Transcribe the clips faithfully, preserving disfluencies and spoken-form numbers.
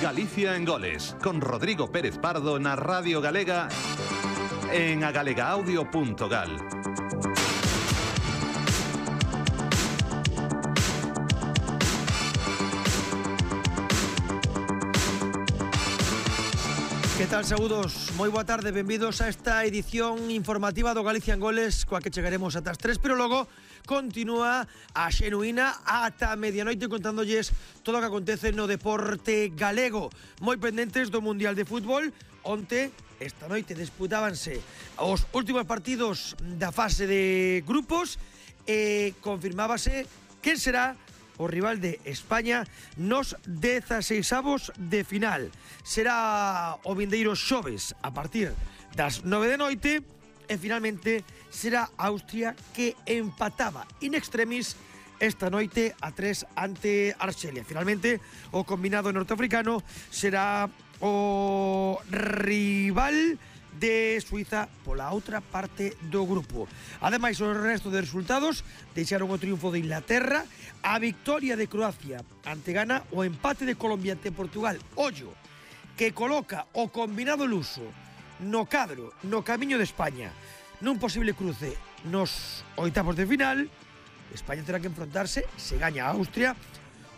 Galicia en Goles, con Rodrigo Pérez Pardo na Radio Galega en agalegaaudio punto gal. Que tal, saúdos? Moi boa tarde, benvidos a esta edición informativa do Galicia en Goles, coa que chegaremos ata as tres, pero logo continúa a xenuína ata medianoite contándolles todo o que acontece no deporte galego. Moi pendentes do Mundial de Fútbol. Onte, esta noite, disputábanse os últimos partidos da fase de grupos e confirmábase quen será o rival de España nos dezaseisavos de final. Será o vindeiro xoves a partir das nove de noite e finalmente será Austria que empataba in extremis esta noite a tres ante Arxelia. Finalmente o combinado norteafricano será o rival de Suiza pola outra parte do grupo. Ademais, o resto de resultados deixaron o triunfo de Inglaterra, a victoria de Croacia ante Ghana, o empate de Colombia ante Portugal. Ollo, que coloca o combinado luso no cadro, no camiño de España, nun posible cruce nos oitavos de final. España terá que enfrontarse, se gaña a Austria,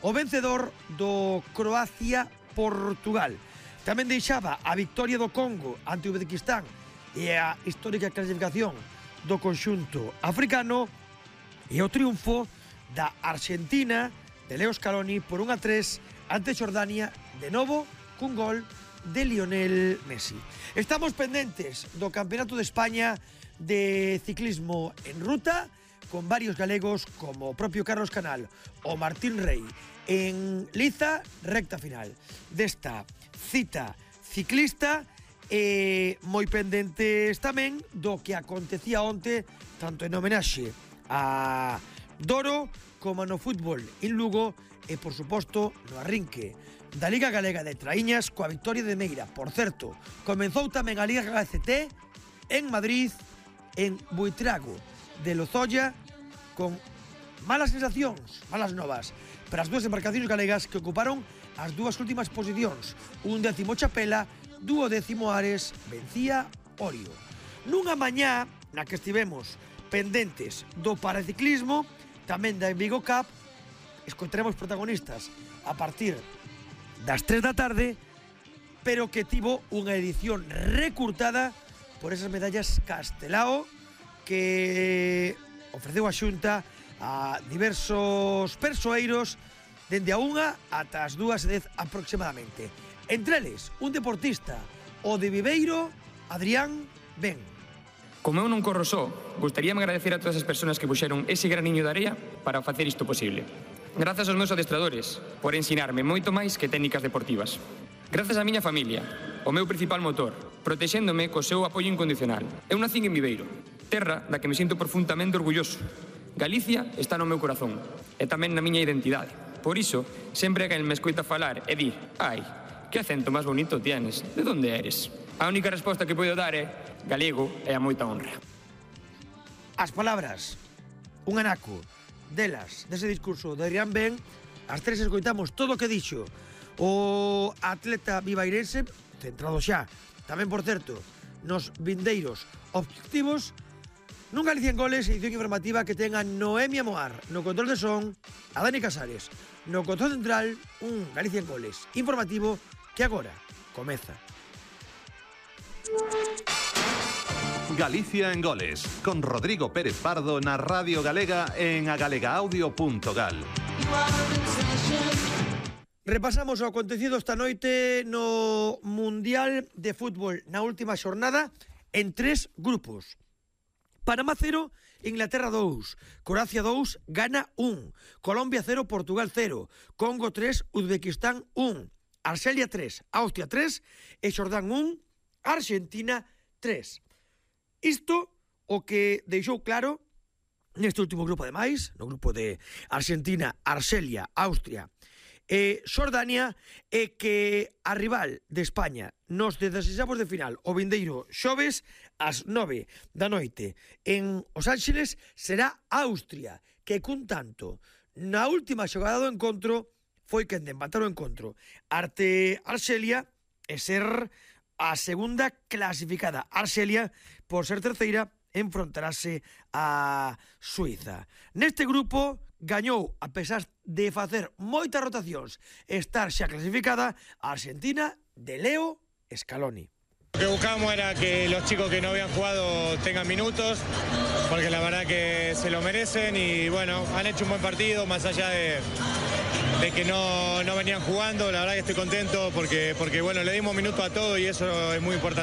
o vencedor do Croacia-Portugal. Tamén deixaba a victoria do Congo ante o Uzbequistán e a histórica clasificación do conxunto africano e o triunfo da Argentina de Leo Scaloni por un a tres ante Xordania, de novo cun gol de Lionel Messi. Estamos pendentes do Campeonato de España de ciclismo en ruta con varios galegos como o propio Carlos Canal o Martín Rey en Liza, recta final desta cita ciclista, e moi pendentes tamén do que acontecía onte tanto en homenaxe a Doro como no fútbol en Lugo e, por suposto, no arrinque da Liga Galega de Traíñas coa victoria de Meira. Por certo, comenzou tamén a Liga G C T en Madrid, en Buitrago de Lozoya, con malas sensacións, malas novas para as dúas embarcacións galegas que ocuparon as dúas últimas posicións. Un décimo Chapela, duodécimo Ares, vencía Orio. Nunha mañá na que estivemos pendentes do paraciclismo, tamén da Vigo Cup, escoitaremos protagonistas a partir das tres da tarde, pero que tivo unha edición recurtada por esas medallas Castelao que ofreceu a Xunta a diversos persoeiros dende a unha ata as dúas e dez aproximadamente. Entre eles, un deportista, o de Viveiro, Adrián Ben. Como eu non corro só, gustaríame agradecer a todas as persoas que puxeron ese graniño de area para facer isto posible. Grazas aos meus adestradores por ensinarme moito máis que técnicas deportivas. Grazas á miña familia, o meu principal motor, protexéndome co seu apoio incondicional. Eu nacín en Viveiro, terra da que me sinto profundamente orgulloso. Galicia está no meu corazón e tamén na miña identidade. Por iso, sempre que me escoita falar e dir «Ai, que acento máis bonito tienes, de onde eres?» A única resposta que podo dar é galego e a moita honra. As palabras, un anaco delas, dese discurso de Adrián Ben, as tres escoitamos todo o que dixo o atleta vivairense, centrado xa, tamén por certo, nos vindeiros objetivos. Nun Galicia en Goles, edición informativa que ten a Noemia Moar no control de son, a Dani Casares no control central, un Galicia en Goles informativo que agora comeza. Galicia en Goles, con Rodrigo Pérez Pardo na Radio Galega en agalegaaudio punto gal. Repasamos o acontecido esta noite no Mundial de Fútbol na última xornada en tres grupos. Panamá cero, Inglaterra dous, Croacia dous, Ghana un, Colombia cero, Portugal cero, Congo tres, Uzbequistán un, Arxelia tres, Austria tres e Xordán un, Argentina tres. Isto o que deixou claro neste último grupo, ademais, no grupo de Argentina, Arxelia, Austria e Xordania, é que a rival de España nos dezaseisavos de final o vindeiro xoves ás nove da noite en Os Ángeles será Austria, que cun tanto na última xogada do encontro foi quen de empatar o encontro arte Arxelia e ser a segunda clasificada. Arxelia, por ser terceira, enfrontarase a Suiza. Neste grupo gañou, a pesar de facer moitas rotacións, estar xa clasificada, a Argentina de Leo Scaloni. Lo que buscamos era que los chicos que no habían jugado tengan minutos, porque la verdad que se lo merecen y bueno, han hecho un buen partido, más allá de, de que no, no venían jugando, la verdad que estoy contento porque, porque bueno, le dimos minutos a todos y eso es muy importante.